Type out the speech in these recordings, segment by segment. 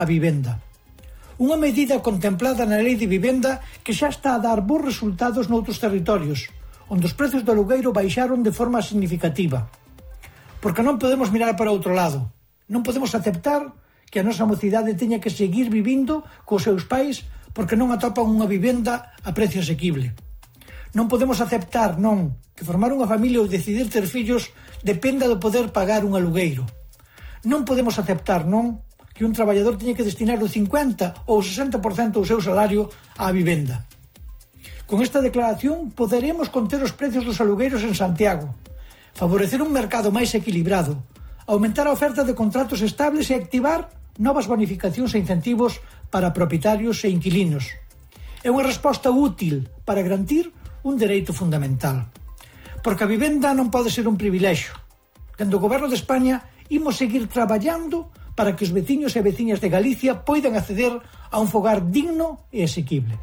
a vivenda. Unha medida contemplada na Lei de Vivenda que xa está a dar bons resultados noutros territorios, onde os prezos do alugueiro baixaron de forma significativa. Porque non podemos mirar para outro lado. Non podemos aceptar que a nosa mocidade teña que seguir vivindo cos seus pais porque non atopan unha vivenda a precio asequible. Non podemos aceptar, non, que formar unha familia ou decidir ter fillos dependa do poder pagar un alugueiro. Non podemos aceptar, non, que un traballador teña que destinar o 50 ou 60% do seu salario á vivenda. Con esta declaración poderemos conter os precios dos alugueiros en Santiago, favorecer un mercado máis equilibrado, aumentar a oferta de contratos estables e activar novas bonificacións e incentivos para propietarios e inquilinos. É unha resposta útil para garantir un dereito fundamental. Porque a vivenda non pode ser un privilexio. Dende o Goberno de España imos seguir traballando para que os veciños e veciñas de Galicia poidan acceder a un fogar digno e asequible.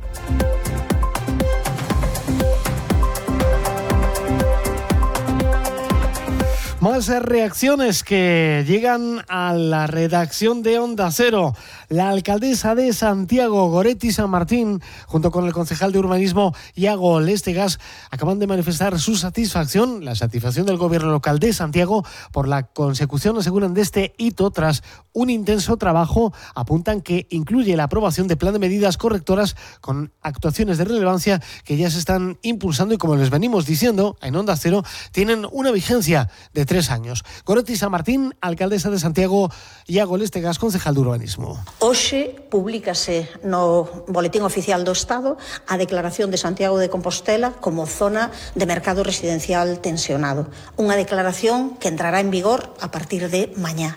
Más reacciones que llegan a la redacción de Onda Cero. La alcaldesa de Santiago, Goretti San Martín, junto con el concejal de urbanismo, Iago Lestegas, acaban de manifestar su satisfacción, la satisfacción del gobierno local de Santiago por la consecución, aseguran, de este hito tras un intenso trabajo. Apuntan que incluye la aprobación de plan de medidas correctoras con actuaciones de relevancia que ya se están impulsando y, como les venimos diciendo en Onda Cero, tienen una vigencia de 3 años. Goretti San Martín, alcaldesa de Santiago, Iago Lestegas, concejal de urbanismo. Hoxe públicase no Boletín Oficial do Estado a declaración de Santiago de Compostela como zona de mercado residencial tensionado. Unha declaración que entrará en vigor a partir de mañá.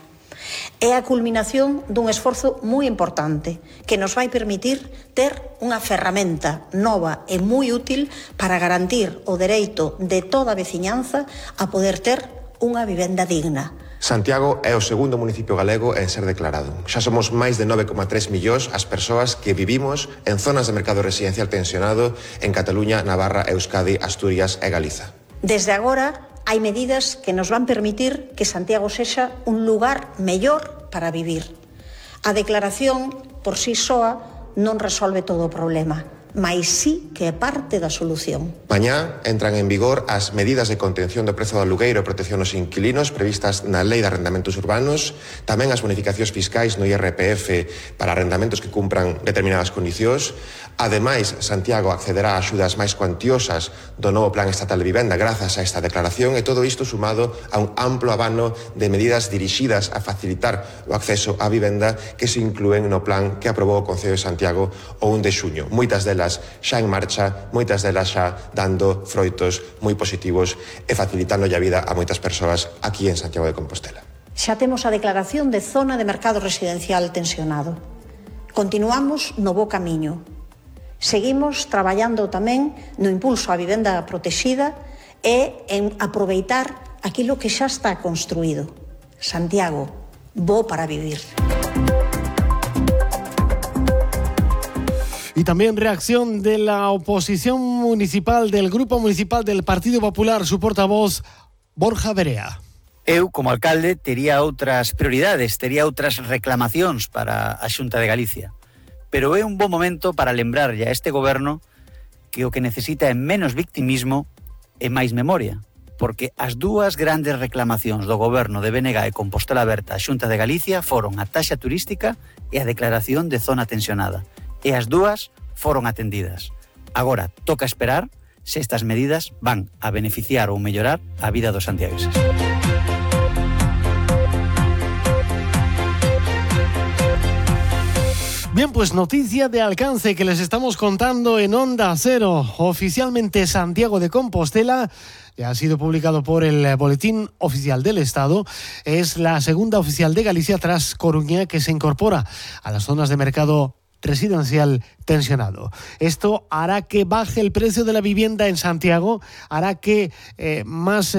É a culminación dun esforzo moi importante que nos vai permitir ter unha ferramenta nova e moi útil para garantir o dereito de toda a veciñanza a poder ter unha vivenda digna. Santiago é o segundo municipio galego en ser declarado. Xa somos máis de 9,3 millóns as persoas que vivimos en zonas de mercado residencial tensionado en Cataluña, Navarra, Euskadi, Asturias e Galiza. Desde agora hai medidas que nos van permitir que Santiago sexa un lugar mellor para vivir. A declaración por si soa non resolve todo o problema, mais sí que é parte da solución. Mañá entran en vigor as medidas de contención do prezo do alugueiro e protección aos inquilinos previstas na Lei de Arrendamentos Urbanos, tamén as bonificacións fiscais no IRPF para arrendamentos que cumpran determinadas condicións. Ademais, Santiago accederá a axudas máis cuantiosas do novo Plan Estatal de Vivenda grazas a esta declaración, e todo isto sumado a un amplo abano de medidas dirixidas a facilitar o acceso á vivenda que se inclúen no plan que aprobou o Concello de Santiago o 1 de xuño. Moitas delas xa en marcha, moitas delas xa dando froitos moi positivos e facilitando a vida a moitas persoas aquí en Santiago de Compostela. Xa temos a declaración de zona de mercado residencial tensionado. Continuamos no bo camiño. Seguimos traballando tamén no impulso á vivenda protexida e en aproveitar aquilo que xa está construído. Santiago, bo para vivir. Y también reacción de la oposición municipal, del Grupo Municipal del Partido Popular, su portavoz, Borja Verea. Eu, como alcalde, tería outras prioridades, tería outras reclamacións para a Xunta de Galicia. Pero é un bo momento para lembrarlle a este goberno que o que necesita é menos victimismo e máis memoria, porque as dúas grandes reclamacións do goberno de BNG e Compostela Aberta á Xunta de Galicia foron a taxa turística e a declaración de zona tensionada. E as dúas foron atendidas. Agora toca esperar se estas medidas van a beneficiar ou mellorar a vida dos santiagueses. Bien, pues noticia de alcance que les estamos contando en Onda Cero. Oficialmente Santiago de Compostela ya ha sido publicado por el Boletín Oficial del Estado. Es la segunda oficial de Galicia tras Coruña, que se incorpora a las zonas de mercado residencial tensionado. Esto hará que baje el precio de la vivienda en Santiago, hará que más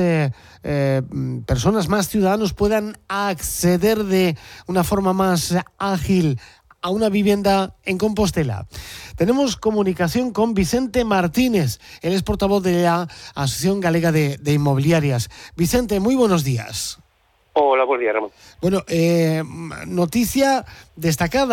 personas, más ciudadanos puedan acceder de una forma más ágil a una vivienda en Compostela. Tenemos comunicación con Vicente Martínez, él es portavoz de la Asociación Galega de Inmobiliarias. Vicente, muy buenos días. Hola, buenos días, Ramón. Bueno, noticia destacada